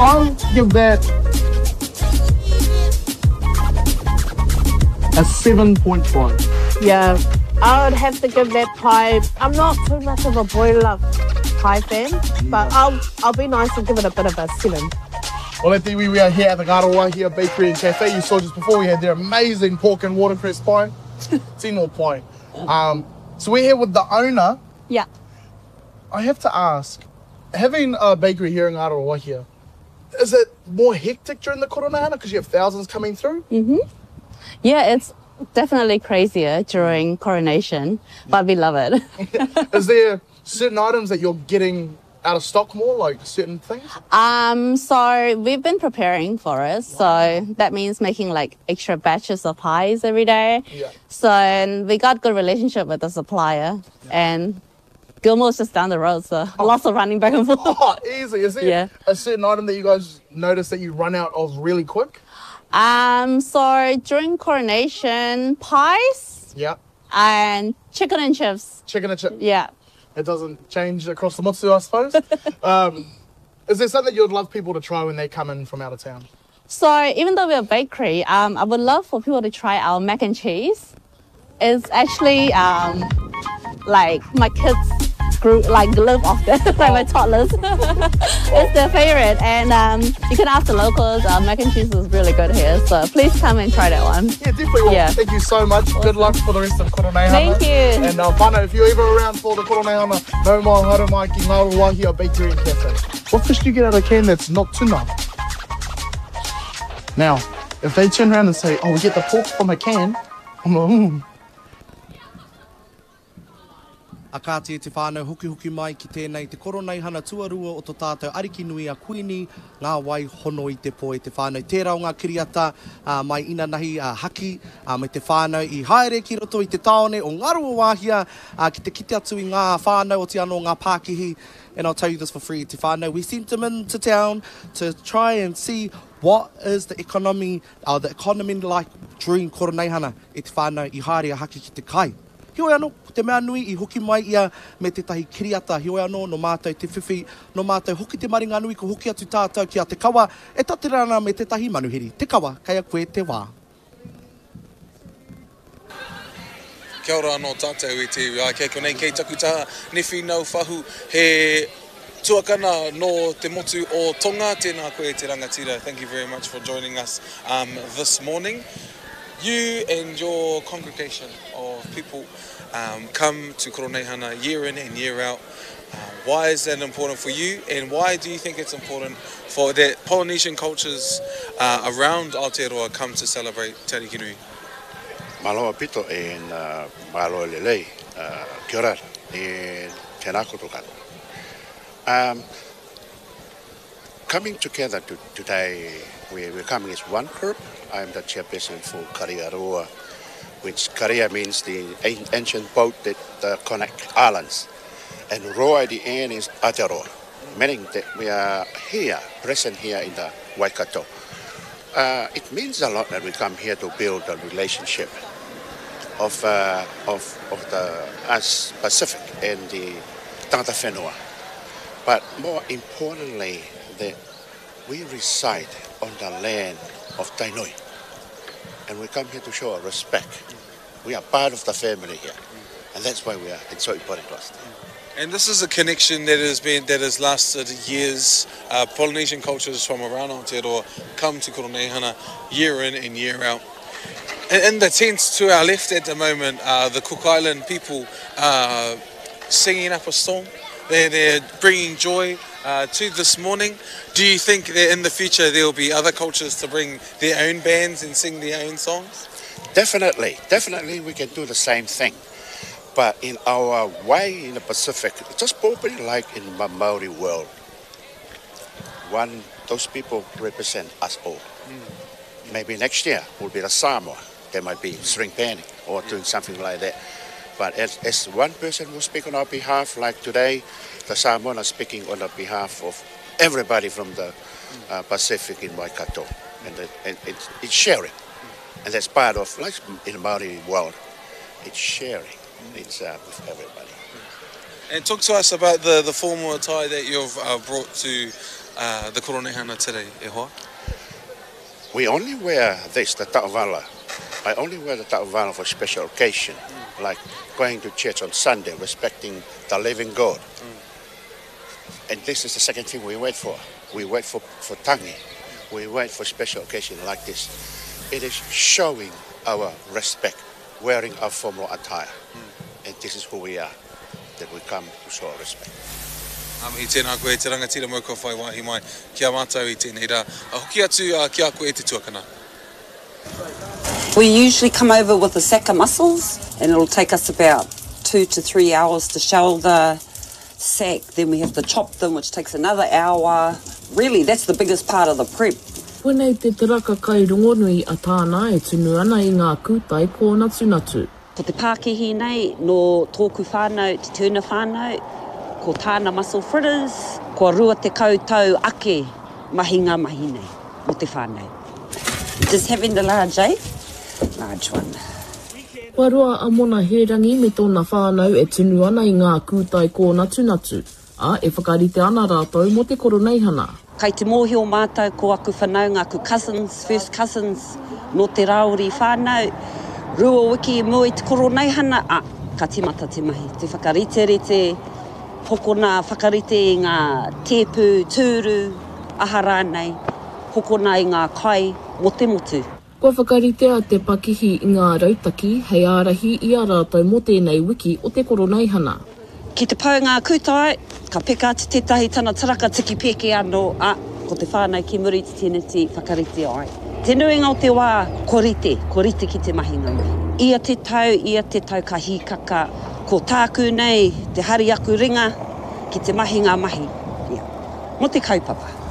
I'll give that a 7.5. Yeah, I would have to give that pie. I'm not too much of a boiler pie fan, but I'll I'll be nice and give it a bit of a 7. Well, at the, we are here at the Ngāruawāhia Bakery and Cafe. You saw just before we had their amazing pork and watercress pie. Tino pie. Um, so we're here with the owner. Yeah. I have to ask, having a bakery here in Ngāruawāhia, is it more hectic during the Koroneihana because you have thousands coming through? Mm-hmm. Yeah, it's definitely crazier during coronation, but we love it. Is there certain items that you're getting out of stock more, like certain things? Um, so we've been preparing for it. So that means making like extra batches of pies every day. Yeah. So and we got good relationship with the supplier and Gilmore's just down the road, so lots of running back and forth. Oh, easy. Is there Yeah. a certain item that you guys notice that you run out of really quick? So during coronation, pies Yeah. and chicken and chips. Chicken and chip. Yeah. It doesn't change across the motu, I suppose. um, is there something you'd love people to try when they come in from out of town? So even though we're a bakery, I would love for people to try our mac and cheese. It's actually like my kids grew like live off that, like my toddlers. it's their favorite, and um, you can ask the locals. Our mac and cheese is really good here, so please come and try that one. Yeah, definitely. Well, Yeah. Thank you so much. Good luck for the rest of Koroneihana. Thank you. And whānau, if you're ever around for the Koroneihana, nau mai haere mai ki Ngāruawāhia Bakery and Cafe. What fish do you get out of a can that's not tuna? Now, if they turn around and say, oh, we get the pork from a can, I'm like, mm. A kāti e te whānau hokihoki mai ki tēnei te koroneihana tuarua o to tātou ariki nui a Kuini Ngā Wai Hono i te Pō e te whānau. Tērā o ngā kiriata mai inanahi a Haki me te whānau i haere ki roto i te tāone o Ngaruawāhia ki te kite atu i ngā whānau oti anō ngā pākihi and I'll tell you this for free te whānau we sent them into town to try and see what is the economy, uh, the economy like during koroneihana e te whānau i haere a Haki ki te kai. Heoi anō, ko te mea nui i hoki mai ia me tētahi kiriata, heoi anō, nō mātou te whiwhi, nō mātou hoki te maringanui ko hoki atu tātou ki a Te Kawa e tatera ana me tētahi manuhiri. Te Kawa, kei a koe te wā. Kia ora anō tātou e te iwi. Āe, kei konei, kei taku taha, Newhi Naufahu, he tuakana nō te motu o Tonga. Tēnā koe te rangatira. Thank you very much for joining us um, this morning. You and your congregation of people um, come to Koroneihana year in and year out. Uh, why is that important for you, and why do you think it's important for that Polynesian cultures uh, around Aotearoa come to celebrate Te Arikinui? Malo a pito and uh, malo lelei, uh, kia ora and tēnā koutou katoa. Um, coming together to, today, we, we're coming as one group. I'm the chairperson for Kariaroa, which Karia means the ancient boat that uh, connect islands. And Roa at the end is Aotearoa, meaning that we are here, present here in the Waikato. Uh, it means a lot that we come here to build a relationship of, uh, of, of the us Pacific and the tangata whenua. But more importantly, that we reside on the land of Tainui. And we come here to show our respect. We are part of the family here. And that's why we are, it's so important to us. And this is a connection that has been that has lasted years. Uh, Polynesian cultures from around Aotearoa come to Koroneihana year in and year out. In, in the tents to our left at the moment, uh, the Cook Island people are singing up a storm. They're, they're bringing joy uh, to this morning. Do you think that in the future there will be other cultures to bring their own bands and sing their own songs? Definitely, definitely we can do the same thing. But in our way in the Pacific, just probably like in the Maori world, one those people represent us all. Mm. Maybe next year will be the Samoa. They might be string panning or doing something like that. But as, as one person will speak on our behalf, like today, the Samoan are speaking on the behalf of everybody from the uh, Pacific in Waikato. And, the, and it's, it's sharing. And that's part of, like in the Maori world, it's sharing. It's uh, with everybody. And talk to us about the, the formal attire that you've uh, brought to uh, the Koroneihana today, e hoa? We only wear this, the ta'ovala. I only wear the ta'ovala for special occasion, mm. like going to church on Sunday, respecting the living God. Mm. And this is the second thing we wait for. We wait for, for tangi. We wait for special occasion like this. It is showing our respect, wearing our formal attire. Mm. And this is who we are, that we come to show our respect. Ngā mihi tēnā koe e te rangatira mau kua whai wāhi mai ki a mātou i tēnei rā. Hoki atu ki a koe e te tuakana. We usually come over with a sack of mussels and it'll take us about two to three hours to shell the sack, then we have to chop them which takes another hour. Really that's the biggest part of the prep. Koinei te taraka kai rongonui a Tāna e tunu ana i ngā kūtai kōnatunatu. Ko te pākihi nei nō tōku whānau, te Turner whānau, ko tāna mussel fritters, kua 20 tau ake mahi ngā mahi nei mō te whānau. Just having the large eh? Large one. Kua roa a Mona Hērangi me tōna whānau e tunu ana i ngā kūtai kōnatunatu. Ā, e whakarite ana rātou mō te Koroneihana. Kai te mōhio mātou ko aku whanaunga, aku cousins, first cousins, nō te Rāori whānau, rua wiki i mua i te Koroneihana, ā, ka tīmata te mahi, te whakariterite, hokona, whakarite i ngā tēpu, tūru, aha rānei, hokona i ngā kai mō te motu. Kua whakaritea te pakihi i ngā rautaki hei ārahi i a rātou mō tēnei wiki o te Koroneihana. Ki te pau ngā kūtai, ka peka atu tētahi tana taraka tiki pēke anō, ā, ko te whānau ki muri i te teneti whakarite ai. Te nuinga o te wā, kua rite, kua rite ki te mahi ngā mahi. Ia te tau, ia te tau ka hīkaka, ko tāku nei te hari aku ringa ki te mahi ngā mahi, ia, mō te kaupapa.